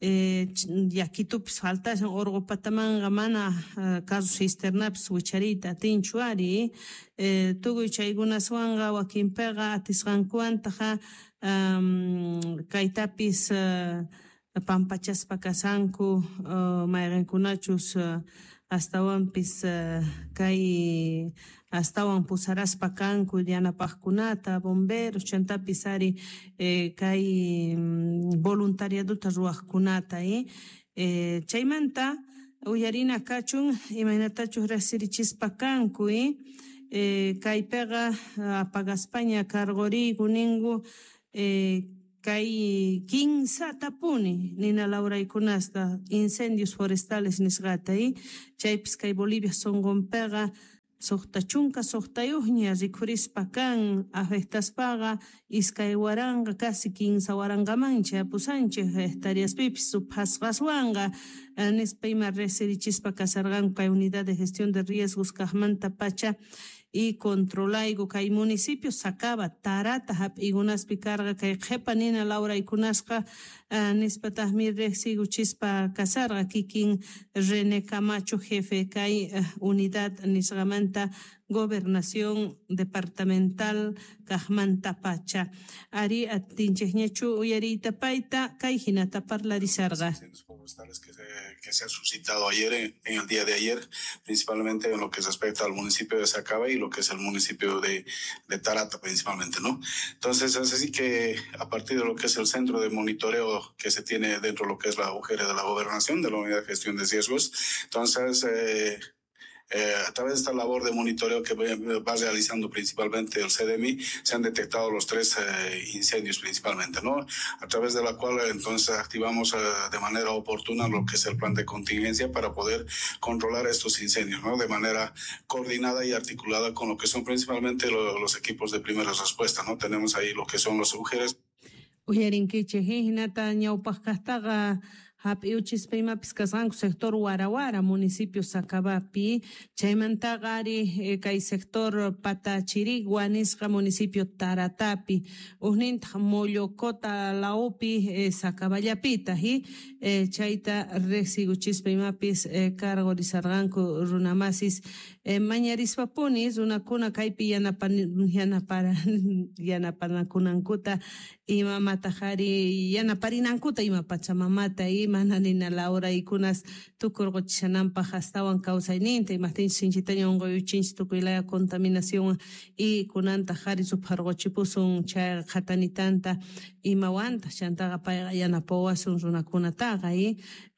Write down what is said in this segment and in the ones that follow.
Yakitupis faltashan orqo patamanqa mana carro cisternapis wichariyta atinchu ari tukuy chaykunaswanqa wakinpiqa atisqankuwantaqa kaytapis pampachaspa kashanku mayqenkunachus astawanpis kay astawan pusaraspa kanku yanapajkunata bomberos chantapis ari kay voluntariadota ruwajkunata chaymanta uyarina kachun imaynatachus riqsirichispa kanku kaypiqa apagaspaña karquriyku ninku kay kinsatapuni nina lawraykunasta incendios forestales nisqata chaypis kay Bolivia sunqunpiqa 66 ña rikhurispa kan afectaspaqa 2000 casi 3000 man chayapusanchej hectareaspipis ruphasqaswanqa nispa ima riqsirichispa kasarqanku kay unidad de gestión de riesgos kaqmanta pacha y controlayku kay municipio Sacaba Tarata hap'iykunaspi karqa kay qhipa nina lawraykunasqa nispataqmi riqsiykuchispa kasarqa kikin René Camacho jefe kay unidad nisqamanta gobernación departamental kaqmanta pacha ari atinchikñachu uyariyta payta kay hinata parlarisarqa. Que se ha suscitado ayer, en el día de ayer, principalmente en lo que respecta al municipio de Sacaba y lo que es el municipio de Tarata principalmente, ¿no? Entonces, es así que a partir de lo que es el centro de monitoreo que se tiene dentro de lo que es la UGR de la gobernación, de la Unidad de Gestión de Riesgos, entonces, a través de esta labor de monitoreo que va realizando principalmente el SEDEMI, se han detectado los tres incendios principalmente, ¿no? A través de la cual entonces activamos de manera oportuna lo que es el plan de contingencia para poder controlar estos incendios, ¿no? De manera coordinada y articulada con lo que son principalmente los equipos de primera respuesta, ¿no? Tenemos ahí lo que son los agujeros. Uyarinkichej hinata ñawpaq kaqtaqa hap'iuchispa imapis kasqanku sector Warawara municipio Sacabapi chaymantaqa ari kay sector Patachirigua nisqa municipio Taratapi ujnintaq Mollocota lawpi Sacaballapitaq chayta riqsiykuchispa imapis karqurisarqanku runamasis mañarispapuni runakuna kaypi yanapanakunankuta imamataq ari yanaparinankuta ima pachamamata mana nina lawraykunas tukurquchishananpaq astawan kawsayninta imaqtinchus sinchitaña unquyuchinchik tukuy laya contaminación y kunantaq ari rupharquchipusun chay qhatanitanta imawantaq chantaqa payqa yanapawasun runakunataqa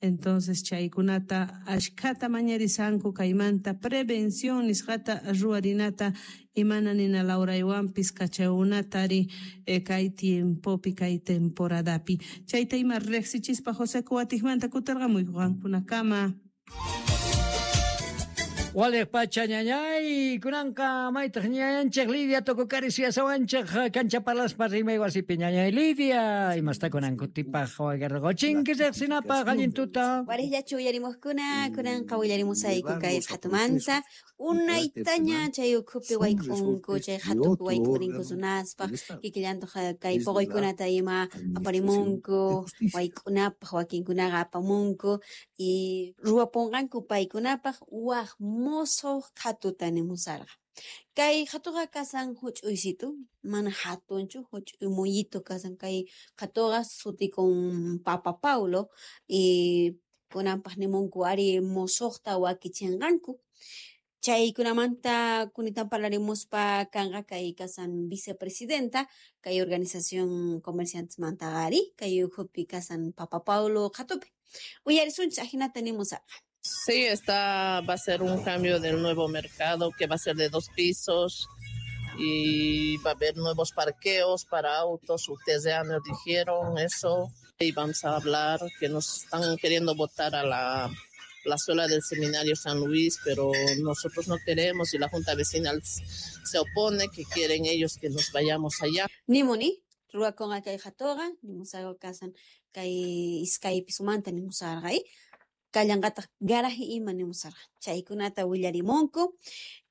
entonces chaykunata ashkhata mañarisanku kaymanta prevención nisqata ruwarinata imana nina lawraywanpis kachaykunata ari kay tiempopi kay temporadapi chayta ima riqsichispa José Kuwatikmanta kutirqamuyku qankunakama. Waliq pacha ñañay, kunanqa maytaq ñañanchik Lidia Tucukari suyasawanchik kancha parlaspa rimay wasipi ñañay Lidia, imasta kunan kutipaq wagarqochinki riqsinapaq allin tuta. Wariqllachu uyarimuqkuna kunanqa willarimusayku kay qhatumanta unaytaña chay ukhupi wayk'unku chay qhatupi wayk'urinku runaspaq kikillantaq kay puquykunata ima aparimunku wayk'unapaq wakinkunaqa apamunku y ruwapunqanku paykunapaq waq musuq qhatuta nimusarqa. Kay qhatuqa kasan huch'uysitu mana hatunchu huch'uy muyito kasan kay qhatuqa sutikun Papa Paulo y kunanpaq nimunku ari musuqta wakichinqanku. Chaykunamanta kunitan parlarimuspa kanqa kay kasan vicepresidenta kay organización comerciantesmantaqa ari kay ukhupi kasan Papa Paulo qhatupi. Uyarisunchik ajinata nimusarqa. Sí, va a ser un cambio del nuevo mercado que va a ser de 2 pisos y va a haber nuevos parqueos para autos. Ustedes ya nos dijeron eso y vamos a hablar que nos están queriendo botar a la plazuela del Seminario San Luis, pero nosotros no queremos y la Junta Vecinal se opone, que quieren ellos que nos vayamos allá. Nimuni, ruwakunqa kay qhatuqa, nimusarqa kasan kay iskay pisumanta nimusarqa, kallanqataq garaje ima nimusarqa. Chaykunata willarimunku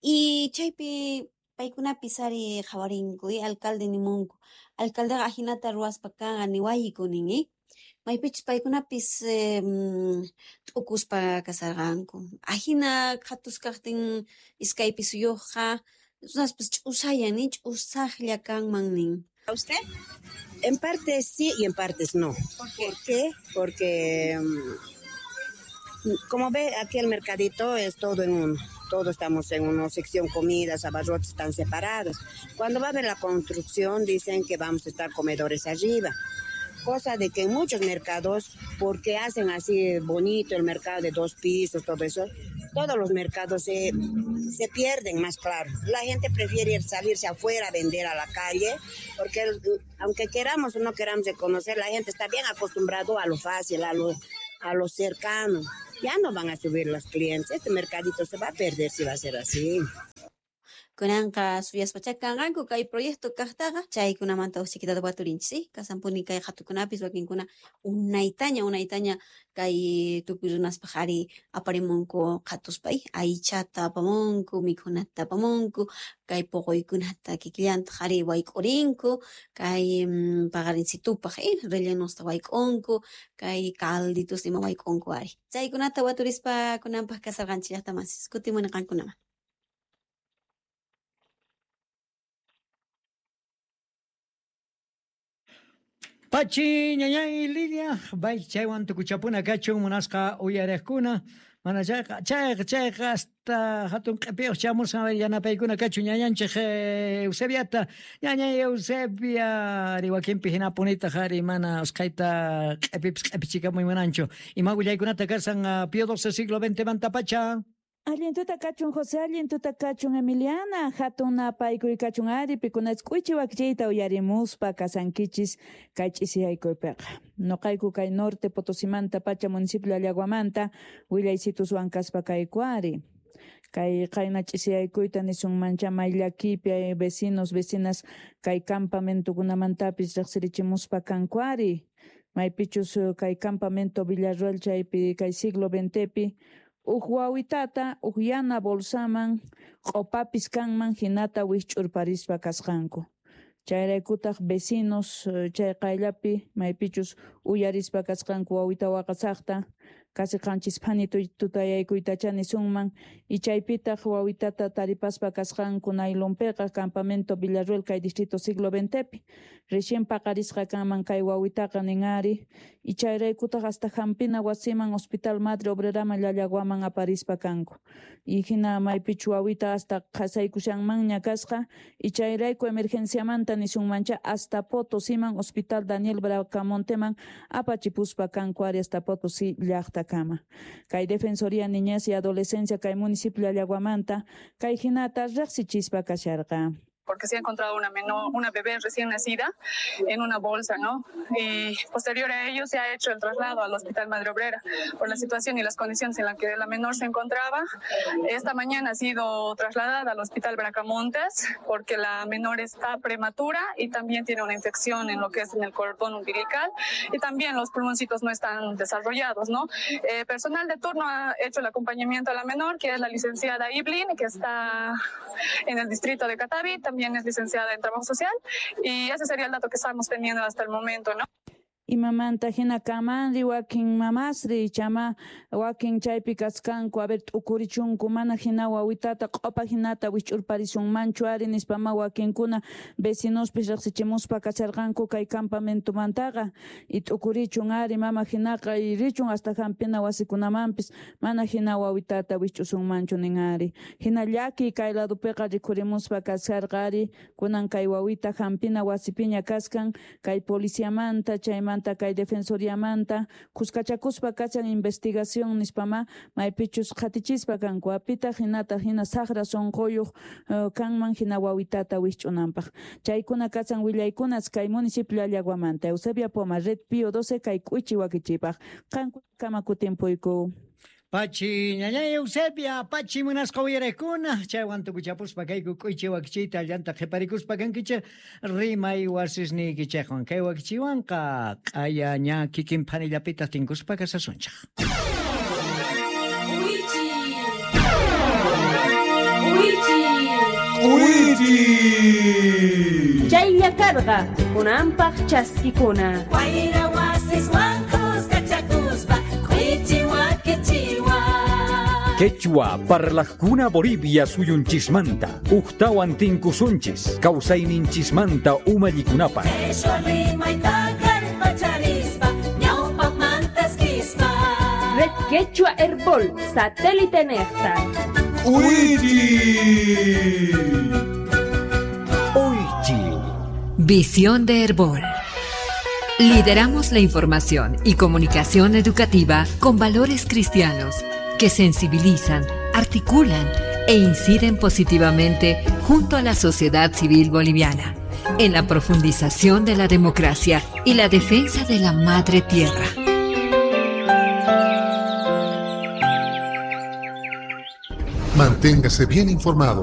y chaypi paykunapis ari qhawarinku alcalde nimunku. Alcaldeqa ajinata ruwaspa kanqa niwayku nin. Maypichus paykunapis t'ukuspa kasarqanku. Ajina qhatus kaqtin iskay pisuyuqqa runaspis ch'usayan nin, ch'usaqlla kanman nin. ¿A usted? En parte sí y en partes no. ¿Por qué? ¿Por qué? Porque como ve, aquí el mercadito es todo en uno. Todos estamos en una sección, comidas, abarrotes están separados. Cuando va a haber la construcción, dicen que vamos a estar comedores arriba. Cosa de que en muchos mercados, porque hacen así bonito el mercado de 2 pisos, todo eso, todos los mercados se pierden más claro. La gente prefiere salirse afuera a vender a la calle, porque aunque queramos o no queramos reconocer, la gente está bien acostumbrado a lo fácil, a lo cercano. Ya no van a subir los clientes. Este mercadito se va a perder si va a ser así. Kunanqa suyaspacha kanqanku kay proyecto kaqtaqa chaykunamanta usikitata waturinchis, kasanpuni kay qhatukunapis wakinkuna unaytaña kay tukuy runaspaq ari aparimunku qhatuspa aychata apamunku, mikhunata apamunku, kay puquykunata kikillantaq ari wayk'urinku, kay paqarinsitupaq rellenusta wayk'unku, kay calditos ima wayk'unku ari. Chaykunata waturispa kunanpaq kasarqanchis llaqtamasis, kutimuni qankunaman. Pachi, ñañay, Lidia, bay chaywan tukuchapuna kachun munasqa uyariqkuna, mana chayqa chayqa hasta hatun q'ipiyuq chamusqa yanapaykuna kachun ñañanchik Eusebiata, ñañay Eusebia, ari wakinpi hinapunitaq ari mana usqhayta q'ipipis q'ipichikamuy munanchu. Ima willaykunata kasan Pío XII siglo XX mantapacha. Allin tuta kachun José, allin tuta kachun Emiliana, hatun napaykuy kachun ari, pikunach k'uichi wakichiyta uyarimuspa kasankichis kay ch'isiyaykuypiqa. Noqayku kay norte Potosimanta pacha municipio Llallaguamanta willaysituswan kaspa kayku ari. Kay qayna ch'isiyaykuyta nisunmancha may llakipi vecinos, vecinas kay campamentokunamantapis riqsirichimuspa kanku ari. Maypichus kay campamento Villarroel chaypi kay siglo XXpi uj wawitata uj yana bolsaman q'opapis kanman hinata wikch'urparispa kasqanku. Chayraykutaq vecinos chay qayllapi maypichus uyarispa kasqanku wawita waqasaqta casi qanchis phani tutayaykuytacha nisunman y chaypitaq wawitata taripaspa kasqanku naylonpiqa campamento Villarruel kay distrito siglo XXpi. Recién paqarisqa kanman kay wawitaqa nin ari y chayraykutaq hasta hampina wasiman Hospital Madre Obreraman Llallaguaman aparispa kanku. Y hina maypichu wawita hasta qhasaykushanmanña kasqa y chayrayku emergenciamanta nisunmancha hasta Potosiman Hospital Daniel Bracamonteman apachipuspa kanku ari hasta Potosí llaqta kama. Kay Defensoría Niñez y Adolescencia kay municipio Llallaguamanta kay hinata riqsichispa kasharqa. Porque se ha encontrado una bebé recién nacida en una bolsa, ¿no? Y posterior a ello se ha hecho el traslado al Hospital Madre Obrera por la situación y las condiciones en las que la menor se encontraba. Esta mañana ha sido trasladada al Hospital Bracamontes porque la menor está prematura y también tiene una infección en lo que es en el cordón umbilical y también los pulmoncitos no están desarrollados, ¿no? Personal de turno ha hecho el acompañamiento a la menor, que es la licenciada Iblin, que está en el distrito de Catavi, también es licenciada en Trabajo Social, y ese sería el dato que estamos teniendo hasta el momento, ¿no? Imamanta hina kamanri wakin mamasri chama wakin chaypi kaskanku a ver t'ukurichunku mana hina wawitata q'opa hinata wich'urparisunmanchu ari nispama wakinkuna vecinospis riqsichimuspa kasharqanku kay campamentomantaqa y t'ukurichun ari mama hinaqa y richun hasta hampina wasikunamanpis mana hina wawitata wich'usunmanchu nin ari hina llaki kay ladupiqa rikhurimuspa kasharqa ari kunan kay wawita hampina wasipiña kaskan kay policiamanta chaymanta kay defensoriamanta kuskachakuspa kachan investigación nispama maypichus qhatichispa kanku apitaq hinata hina saqra sunquyuq kanman hina wawitata wisch'unanpaq chaykuna kachan willaykunas kay municipio Llallaguamanta. Eusebia Poma, Red Pío 12 kay k'uichi wakichipaq qankuna kutimpuyku. Pachi ñañay Eusebia, pachi munasqa uyariqkuna, chaywan tukuchapuspa kayku k'uychi wakichiyta llanta qhiparikuspa kankichik rimay wasisniykichikwan kay wakichiwanqa q'aya ña kikin phanillapitaq tinkuspa kasasunchik. K'uychi, k'uychi, k'uychi. Chaylla karqa kunanpaq chaskikuna. Wayra wasi. Masiswan kuskachakuspa k'uichi wakichiwan. Quechua parlajkuna Bolivia suyunchismanta ujtawan tinkusunchis kawsayninchismanta umallikunapaq. Qheshwa rimayta kallpacharispa ñawpaqmantas kispa. Red Quechua Herbol, satélite Nefta. ¡Uichi! Oichi. Visión de Herbol. Lideramos la información y comunicación educativa con valores cristianos que sensibilizan, articulan e inciden positivamente junto a la sociedad civil boliviana en la profundización de la democracia y la defensa de la madre tierra. Manténgase bien informado.